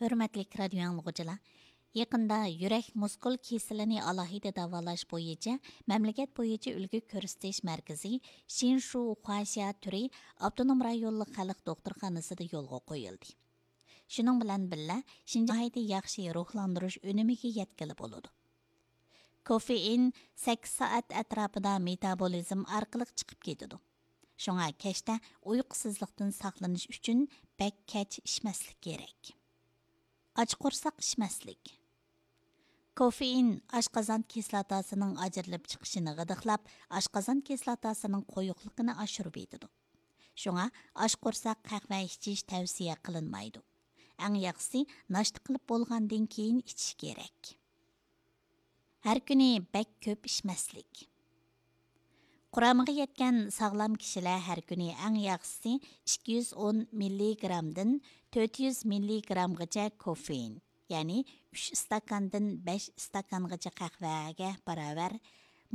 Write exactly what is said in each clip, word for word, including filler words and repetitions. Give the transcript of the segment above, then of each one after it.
ھۆرمەتلىك رادىيو ئاڭلىغۇچىلار، يېقىندا يۈرەك مۇسكۇل كېسىلىنى ئالاھىدە داۋالاش بويىچە مەملىكەت بويىچە ئۈلگە كۆرسىتىش مەركىزى شىنشۇ خۇاشيا تۈرى ئاپتونوم رايونلۇق خەلق دوختۇرخانىسىدا يولغا قويۇلدى. شۇنىڭ بىلەن بىللە، شىنجاڭ ناھايىتى ياخشى روھلاندۇرۇش ئۈنۈمىگە يەتكىلى بولىدۇ. كوفېئىن سەككىز سائەت ئەتراپىدا مېتابولىزم ئارقىلىق چىقىپ كېتىدۇ. شۇڭا كەچتە ئۇيقۇسىزلىقتىن ساقلىنىش ئۈچۈن بەك كەچ ئىچمەسلىك كېرەك. ئاچ قورساق ئىچمەسلىك. كوفېئىن ئاشقازان كىسلاتاسىنىڭ ئاجرىلىپ چىقىشىنى غىدىقلاپ، ئاشقازان كىسلاتاسىنىڭ قويۇقلۇقىنى ئاشۇرۇۋېتىدۇ. شۇڭا ئاچ قورساق قەھۋە ئىچىش تەۋسىيە قىلىنمايدۇ. ئەڭ ياخشىسى ناشتا قىلىپ بولغاندىن كېيىن ئىچىش كېرەك. ھەر كۈنى بەك كۆپ ئىچمەسلىك. قۇرامىغا يەتكەن ساغلام كىشىلەر ھەر كۈنى ئەڭ ياخشىسى ئىككى يۈز ئون مىللىگرامدىن تۆت يۈز مىللىگرامغىچە كوفېئىن، يەنى ئۈچ ئىستاكاندىن بەش ئىستاكانغىچە قەھۋەگە باراۋەر،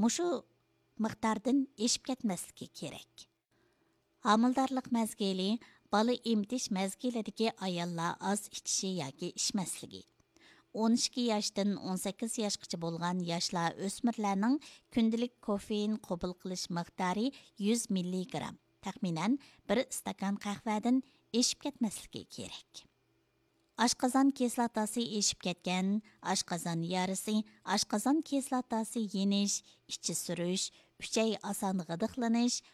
مۇشۇ مىقداردىن ئېشىپ كەتمەسلىكى كېرەك. ھامىلىدارلىق مەزگىلى، بالا ئېمىتىش مەزگىلىدىكى ئاياللار ئاز ئىچىشى ياكى ئىچمەسلىكى. ئون ئىككى ياشتىن ئون سەككىز ياشقىچە بولغان ياشلار، ئۆسمۈرلەرنىڭ كۈندىلىك كوفېئىن قوبۇل قىلىش مىقدارى يۈز مىللىگرام، تەخمىنەن بىر ئىستاكان قەھۋەدىن ئېشىپ كەتمەسلىكى كېرەك. ئاشقازان كىسلاتاسى ئېشىپ كەتكەن، ئاشقازان يارىسى، ئاشقازان كىسلاتاسى يېنىش، ئىچى سۈرۈش، ئۈچەي ئاسان غىدىقلىنىش،